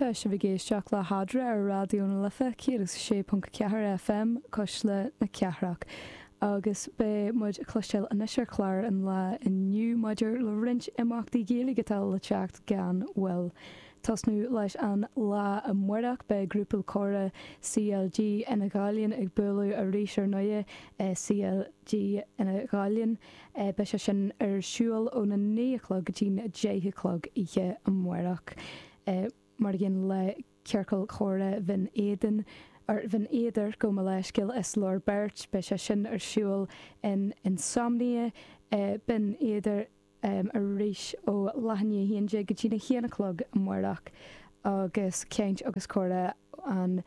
Tá sibh ag éisteacht le hEadra ar Raidió na Life 106.4 FM, Cuisle na Cathrach. Agus beidh muid ag cloisteáil anois ar chlár an lae inniu maidir le roinnt imeachtaí Gaeilge atá le teacht gan mhoill. Tosnú leis an lá amárach, beidh Grúpa Comhrá CLG Fhine Ghallainn ag bualadh arís ar ndóighe i CLG Fhine Ghallainn. Beidh sé sin ar siúl óna 9 a chlog go dtí'n 10 a chlog oíche amárach. Mar aon le Ciorcal Chomhrá Bhinn Éadain, or Bhinn Éadair, gabh mo leithscéal, is leor beirt, beidh sé sin ar siúl in Insomnia, Binn Éadair. arís ó leath i ndiaidh a 11 go dtí'n 1 a chlog amárach agus Caint agus Comhrá an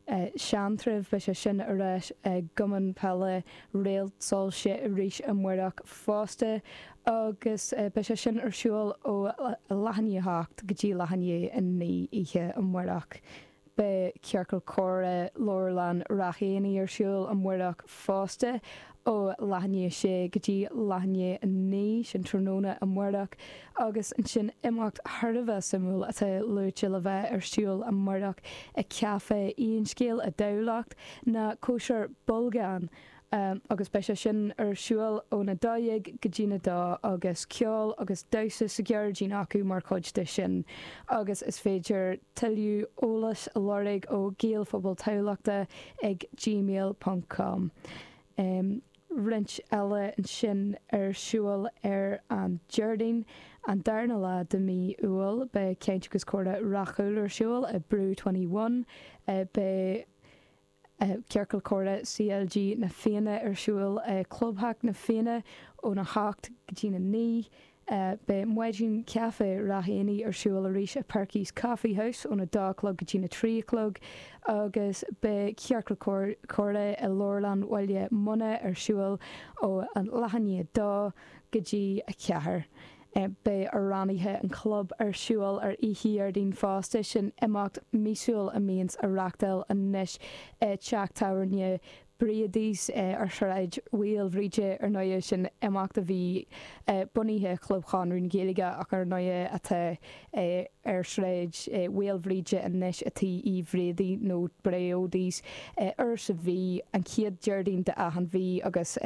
Seantrabh, beidh sé sin ar ais i gCumann Peile Réalt Soilse arís amárach fosta agus beidh sé sin ar siúl ó leath i ndiaidh a 8 go dtí leath i ndiaidh a 9 oíche amárach. Beidh Ciorcal Comhrá Leabharlann Ráth Éanaigh ar siúl amárach fosta ó leath i ndiaidh a sé go dtí leath i ndiaidh a 9, sin tráthnóna amárach, agus ansin imeacht thar a bheith suimiúil atá luaite le bheith ar siúl amárach i Café Aon Scéal i dTamhlacht ná Cóisir Bolgán. agus beidh sé sin ar siúl óna 12 go dtína 2 agus ceol agus damhsa sa ghairdín acu mar chuid de sin agus is féidir tuilleadh eolais a lorg ó Gaelphobal Thamhlachta ag gmail ponc com. Roinnt eile ansin ar siúl ar an Déardaoin, an darna lá de mhí Iúil, beidh Caint agus Comhrá Ráth Chúil ar siúl i Brew 21. Beidh. Ciorcal Comhrá CLG Na Fianna ar siúl i Clubtheach na Fianna óna 8 go dtína 9. Beidh Maidin Chaife Ráth Éanaigh ar siúl arís i Perky's Coffee House óna 2 a chlog go dtína 3 a chlog agus beidh Ciorcal Comhrá i Leabharlann Bhaile Munna ar siúl ó leath i ndiaidh 2 go dtí 4. Beidh Amhránaithe an Chlub ar siúl ar oíche Dhéardaoin fosta, sin imeacht míosúil a mbíonns á reachtáil anois i dteach tábhairne Briodys ar Shráid Mhaoilbhríde. Ar ndóighe, sin imeacht a bhí bunaithe i Chlub Chonradh na Gaeilge ach ar ndóighe atá ar Shráid Mhaoilbhríde anois i Tí Uí Bhriody nó Briodys uair sa mhí, an chéad Déardaoin de achan mhí agus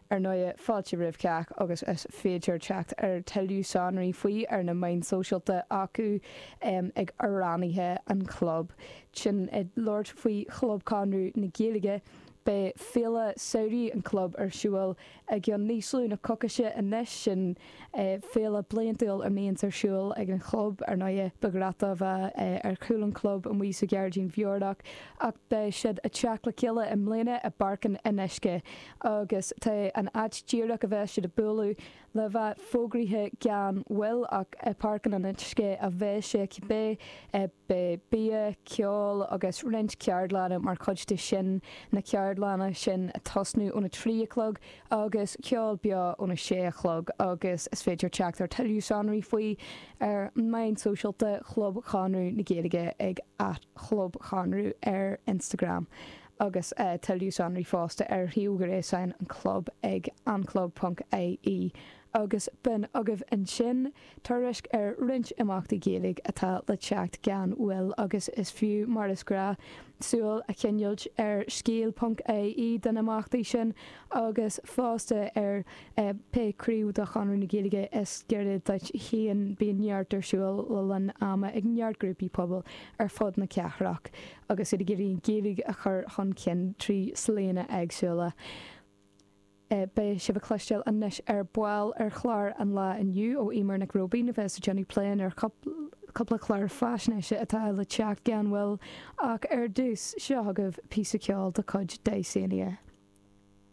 Ar ndóighe, fáilte roimh chách agus is féidir teacht ar tuilleadh sonraí faoi ar na meáin sóisialta acu ag Amhránaithe an Chlub. Sin ag labhairt faoi Chlub Chonradh na Gaeilge, beidh Féile Samhraidh an Chlub ar siúl i gceann níos lú na coicíse anois. Sin féile bliantúil a mbíonns ar siúl ag an chlub. Ar ndóighe, ba ghnách dó bheith ar chúl an chlub amuigh sa ghairdín bhiorach ach beidh siad ag teacht le chéile i mbliana i bPáirc an Fhionnuisce. Agus tá an áit díreach a bheas siad ag bualadh le bheith fógraithe gan mhoill ach i Páirc an Fhionnuisce a bheas sé cibé. Beidh bia, ceol agus roinnt ceardlanna mar chuid de sin, na ceardlanna sin ag tosnú óna 3 a chlog agus ceol beo óna 6 a chlog agus is féidir teacht ar tuilleadh sonraí faoi ar meáin sóisialta Chlub Chonradh na Gaeilge ag @chlubchonradh ar Instagram. agus tuilleadh sonraí fosta ar shuíomh gréasáin an chlub ag anclub.ie. Agus b'in agaibh ansin tuairisc ar roinnt imeachtaí Gaeilge atá le teacht gan mhoill agus is fiú, mar is gnáth, súil a choinneáilt ar scéal.ie don imeachtaí sin agus fosta ar pé craobh de Chonradh na Gaeilge is gaire duit féin. Bíonn neart ar siúl le linn ama ag neart grúpaí pobail ar fud na cathrach. agus iad ag iarraidh an Ghaeilge a chur chun cinn trí shlíanna éagsúla. Beidh sibh ag cloisteáil anois ar ball ar chlár an lae inniu ó Eimear Nic Róibín a bheas ag déanamh plé ar chúpla clár faisnéise atá le teacht gan mhoill ach ar dtús, seo chugaibh píosa ceoil de chuid Dysania.